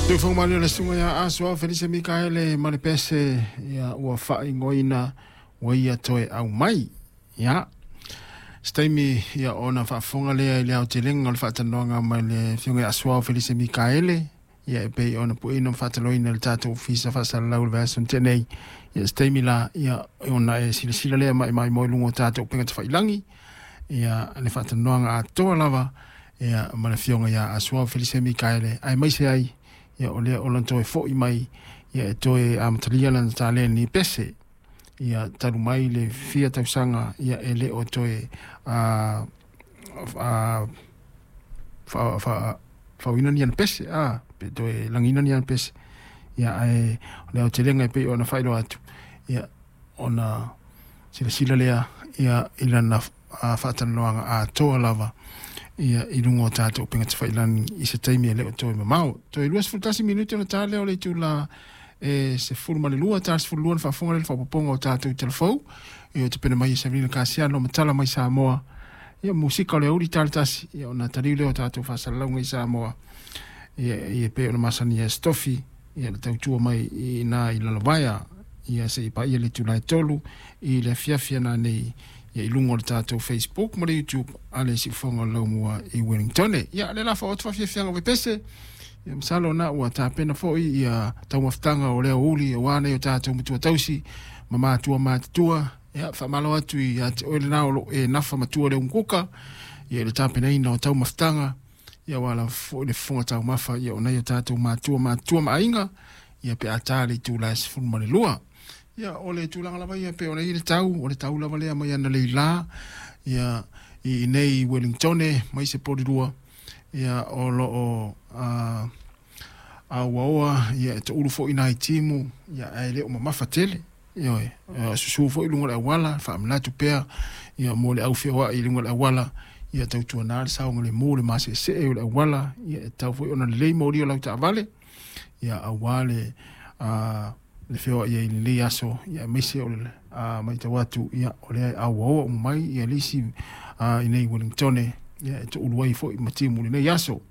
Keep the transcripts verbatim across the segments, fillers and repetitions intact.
Tuufoga le susuga ia Asoao Felise Mikaele ma le pese ia ua faaigoaina ua ia toe aumai. Ia se taimi ia ona faafofoga lea i le aotelega o le faatalanoaga ma le afioga ia Asoao Felise Mikaele ia e pei ona pueina ma faataloina le tatou ofisa faasalalau i le vaiaso na tea nei. Ia se taimi la ia ona e silasila lea ma e maimoa i luga o tatou upega tafailagi ia le faatalanoaga atoa lava ia ma le afioga ia Asoao Felise Mikaele aemaise ai ia o lea o lona toe fo'i mai ia e toe amatalia lana taleni pese ia talu mai le fia tausaga ia e le o toe a a fa fa faauina ni ana pese a pe toe lagiina ni ana pese ia ae o le aotelega e pei ona faailoa atu ia ona silasila lea ia i lana faatalanoaga atoa lava ia i luga o tatou upega tafailagi i se taimi e le o toe mamao. Toe luasefulu tasi minute ona ta lea o le itula e sefulu ma le lua, ta le sefulu lua na faafofoga lea i le faaopoopoga o tatou talafou ia tapena mai e Savelina Kasiano ma tala mai Samoa ia musika o le aoauli ta le tasi ia ona taliu lea o tatou faasalalauga i Samoa ia ia pei ona masani ai se tofi ia le tautua mai i ina i Lalovaea ia seia paia le itula e tolu i le afiafi ana nei ia i luga o le tatou Facebook ma le YouTube a le Siufofoga o le Laumua i Wellington. Ia le la faaoo atu faafiafiaga o Vaipese ia masalo na ua tapena foi ia taumafataga o le aoauli aua nei o tatou matua tausi ma matua matutua. Ia faamalo atu ia te oe lena o loo e nafa matua le umukuka ia i le tapenaina o taumafataga ia aua lava foi le fofoga taumafa ia o nai o tatou matua matutua ma aiga ia pe a ta le itula e sefulu ma le lua. Ia o le tulaga lava ia pei ona i ai le tau, o le tau lava lea mai analeila ia i inei i Wellington mai se Polilua ia o loo a auaoa ia e toulu foi nai timu ia ae le o mamafa tele. Ioe, susu foi i luga o le auala, faamanatu pea ia mo le au feoai i luga o le auala ia tautuana le saogalemu le maseesee o le auala ia e tatau foi ona lelei moli o lau taavale ia aua le a le feoai ai i lenei aso ia aemaise o le matau atu ia o lea e auaoa uma mai ia le isi i nei Wellington ia e toulu ai foi ma timu i lenei aso.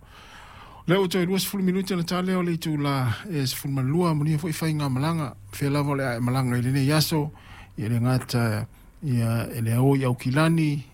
Lea ua toe luasefulu minute ona ta lea o le itula e sefulu ma le lua, manuia foi faigamalaga fea lava o le a e malaga i lenei aso ia le gata ia e le ao i Aukilani